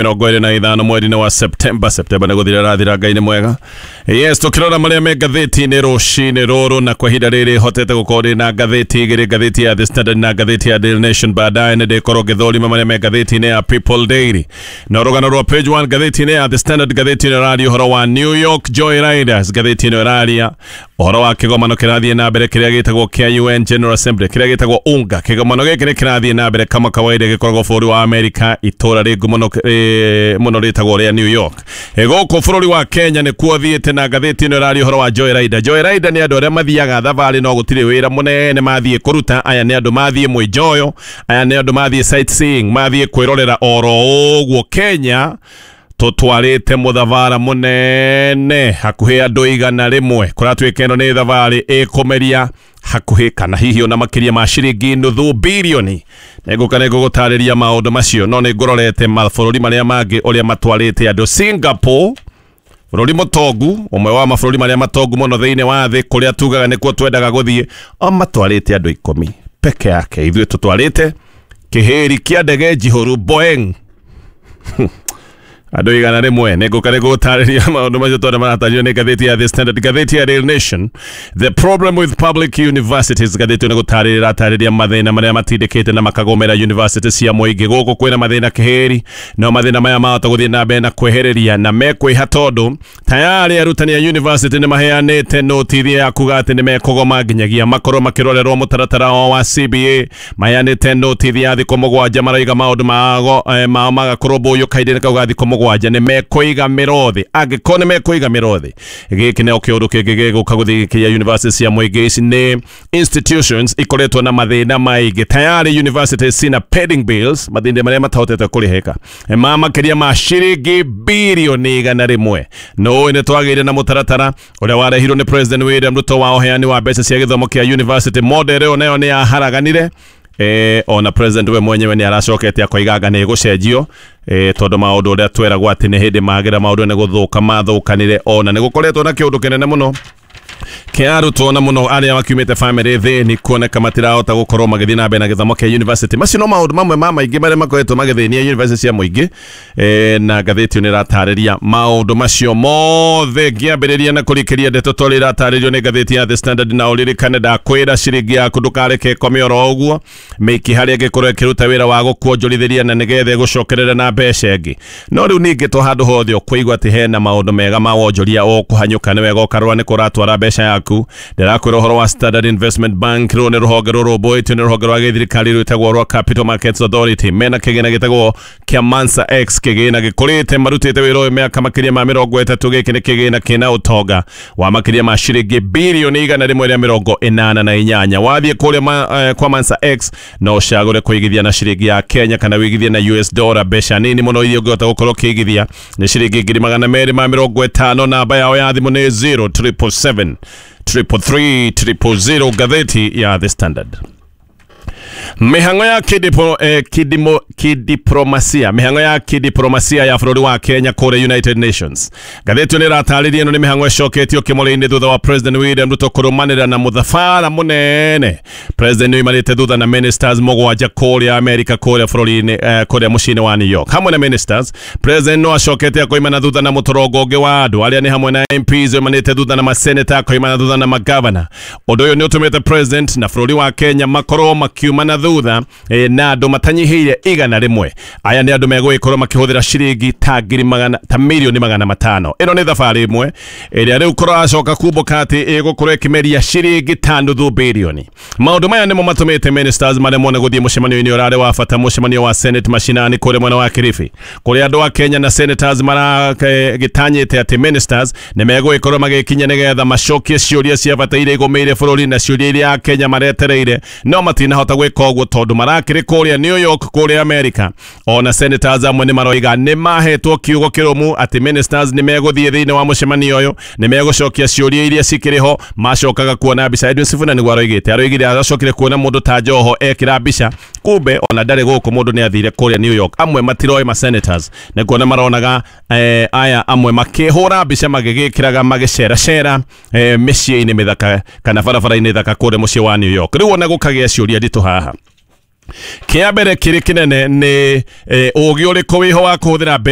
25 mweri-inĩ wa Septemba. Septemba nĩ gũthira rathira, Ngai nĩ mwega. Yes, tũkĩrora marĩa me ngathĩti-inĩ rũcinĩ rũrũ, na kwa ihinda rĩrĩ hotete gũkorwo ndĩ na ngathĩti igĩrĩ, ngathĩti ya The Standard na ngathĩti ya Daily Nation. Baadaye nĩ ndĩkorwo ngĩthũrima marĩa me ngathĩti-inĩ ya People Daily. Na rũgano rwa page 1 ngathĩti-inĩ ya The Standard, ngathĩti ĩno ĩraria ũhoro wa New York Joy Riders. Ngathĩti ĩno ĩraria ũhoro wa kĩgomano kĩrathiĩ na mbere kĩrĩa gĩtagwo kĩa UN General Assembly, kĩrĩa gĩtagwo UNGA. Kĩgomano gĩkĩ nĩ kĩrathiĩ na mbere kama kawaida, gĩkoragwo bũrũri wa Amerika, itũra rĩ ngumo mũno rĩtagwo rĩa New York. Gũkũ bũrũri wa Kenya nĩkuo thiĩte, na ngathĩti ĩno ĩraria ũhoro wa Joy Rider. Joy Rider nĩ andũ arĩa mathiaga thabarĩ no gũtirĩ wĩra mũnene mathiĩ kũruta. Aya nĩ andũ mathiĩ mwĩnjoyo, aya nĩ andũ mathiĩ sightseeing, mathiĩ kwĩrorera oro ũguo. Kenya tũtwarĩte mũthabara mũnene hakuhĩ andũ 100. Kũratuĩka ĩno nĩ thabarĩ ĩkũmeria hakuhĩ kana hihi ona makĩria ma ciringi nuthu birioni. Nĩngũka nĩngũgũtarĩria maũndũ macio, no nĩ ngũrorete mabũrũri marĩa mangĩ ũrĩa matwarĩte andũ. Singapore, bũrũri mũtongu, ũmwe wa mabũrũri marĩa matongu mũno thĩinĩ wa thĩ, kũrĩa tugaga nĩkuo twendaga gũthiĩ, o matwarĩte andũ 10 peke yake. Ithuĩ tũtwarĩte kĩhĩri kĩa ndege njihũru Boeing andũ 100. Nĩngũka nĩngũgũtarĩria maũndũ macio tondũ maratarĩrio nĩ ngathĩti ya The Standard. Ngathĩti ya Daily Nation, the problem with public universities. Ngathĩti ĩno nĩgũtarĩria ĩratarĩria mathĩna marĩa matindĩkĩte na makagũmĩra university cia mũingĩ. Gũkũ kwĩna mathĩna kĩhĩri, no mathĩna maya mahota gũthiĩ na mbere na kwehereria na mekwĩha, tondũ tayarĩ arutani a university nĩ maheanĩte notithi ya kuga atĩ nĩ mekũgoma nginyagia makorwo makĩrorerwo mũtaratara wao wa CBA. Maheanĩte notithi ya thikũ 7, maraiga maũndũ mao magakũrũmbũyio kahinda-inĩ kau ga thikũ 7, nĩ mekũiga mĩrothi. Angĩkorwo nĩ mekũiga mĩrothi, gĩkĩ nĩo kĩũndũ kĩngĩ gĩgũka gũthiĩ university cia mũingĩ. Ici nĩ institutions ikoretwo na mathĩna maingĩ. Tayari universities cina pending bills, mathĩna marĩa matahotete kũrĩhĩka ma makĩria ma ciringi birioni 100. No nĩ twagĩire na mũtaratara ũrĩa warehirwo nĩ President William Ruto wa ũheani wa mbeca cia gĩthomo kĩa university. Model ĩyo nayo nĩ yaharaganire. Ona president we mwenyewe nĩ aracokete akoiga anga nĩ ĩgũcenjio, tondũ maũndũ ũrĩa tweragwo atĩ nĩ hĩndĩ magĩra maũndũ nĩ gũthũka mathũkanire. Ona nĩ gũkoretwo na kĩũndũ kĩnene mũno kĩa arutwo, na mũno arĩa makiumĩte family thĩni, kuoneka matirahota gũkorwo magĩthiĩ na mbere na gĩthomo kĩa university. Macio no maũndũ mamwe ma maingĩ marĩa makoretwo magĩthĩnia university cia mũingĩ, na ngathĩti ĩyo nĩ ĩratarĩria maũndũ macio mothe. Ngĩambĩrĩria na kũrikĩria ndeto tondũ ĩratarĩrio nĩ ngathĩti ya The Standard, na ũririkane ndakwĩra ciringi yaku ndũkareke ĩkome oro ũguo mĩiki harĩa ĩngĩkorwo ĩkĩruta wĩra wa gũkuonjorithĩria na nĩgetha ĩgũcokerere na mbeca ĩngĩ. No rĩu ningĩ to handũ hothe ũkũigua atĩ hena maũndũ mega ma wonjoria ũkũhanyũka, nĩ wega ũkarora nĩ kũratwara mbeca yaku. Ndĩrakwĩra ũhoro wa Standard Investment Bank. Rũrũ nĩ rũhonge rũrũmbũĩtio nĩ rũhonge rwa gĩthirikari rwĩtagwo rwa Capital Markets Authority. Mena kĩgĩna gĩtagwo kĩa Mansa X, kĩgĩna gĩkũrĩte, marutĩte wĩra ũyũ mĩaka makĩria ma 30. Gĩkĩ nĩ kĩgĩna kĩna ũtonga wa makĩria ma ciringi birioni 188. Wathiĩ kũrĩa kwa Mansa X no ũcagũre kũigithia na ciringi ya Kenya kana wĩigithie na US dollar. Mbeca nini mũno iria ũngĩhota gũkorwo ũkĩigithia nĩ ciringi 250,000. Namba yao ya thimũ nĩ 0777 333 000. Ngathĩti ya The Standard, mĩhang'o ya kidiplomasia, mĩhang'o ya kidiplomasia ya bũrũri wa Kenya kũrĩa United Nations. Ngathĩti ĩyo nĩ ĩratarĩria ĩno nĩ mĩhang'o ĩcoketio kĩmũrĩ-inĩ thutha wa President William Ruto kũrũmanĩra na mũthabara mũnene. President nĩoimanĩte thutha na ministers 7 kũrĩa America, kũrĩa bũrũri-inĩ, kũrĩa mũciĩ-inĩ wa New York. Hamwe na ministers, President no acokete akoimana thutha na mũtorongo ũngĩ wa andũ arĩa nĩ hamwe na MPs, oimanĩte thutha na maseneta, akoimana thutha na magavana. Ũndũ ũyũ nĩ ũtũmĩte president na bũrũri wa Kenya makorwo makiumana thutha na andũ matanyihĩire 100. Aya nĩ andũ megũgĩkorwo makĩhũthĩra ciringi ta ngiri magana ta mirioni 500. Ĩno nĩ thabarĩ ĩmwe ĩrĩa rĩu kũracoka kumbũka atĩ ĩgũkorwo ĩkĩmeria ciringi ta nuthu birioni. Maũndũ maya nĩmo matũmĩte ministers maremwo nĩ gũthiĩ mũcemanio-inĩ ũrarĩ wa bata, mũcemanio wa Senate mashinani kũrĩa mwena wa Kilifi, kũrĩa andũ a Kenya na senators maragĩtanyĩte atĩ ministers nĩ megũgĩkorwo magĩkinya nĩgetha macokie ciũria cia bata iria igũmĩire bũrũri na ciũria iria Kenya maretereire, no matinahota gwĩka ũguo tondũ marakĩrĩ kũrĩa New York, kũrĩa America. Ona senators amwe nĩ maroiga nĩ mahetwo kiugo kĩrũmu atĩ ministers nĩ megũthiĩ thĩinĩ wa mũcemanio ũyũ, nĩ megũcokia ciũria iria cikĩrĩ ho. Macokaga kuona mbica. Edwin Sifuna nĩguo aroigĩte, aroigire aracokire kuona mũndũ ta Joho ekĩra mbica, kumbe ona ndarĩ gũkũ, mũndũ nĩ athire kũrĩa New York. Amwe matiroĩ ma senators nĩ kuona maronaga aya amwe makĩhũra mbica magĩgĩkĩraga magĩceracera mĩciĩ-inĩ mĩthaka kana barabara-inĩ thaka kũrĩa mũciĩ wa New York. Rĩu ona gũkagĩa ciũria nditũ haha. Kĩa mbere kĩrĩ kĩnene nĩ ũgĩ ũrĩkũ wĩho wa kũhũthĩra mbeca.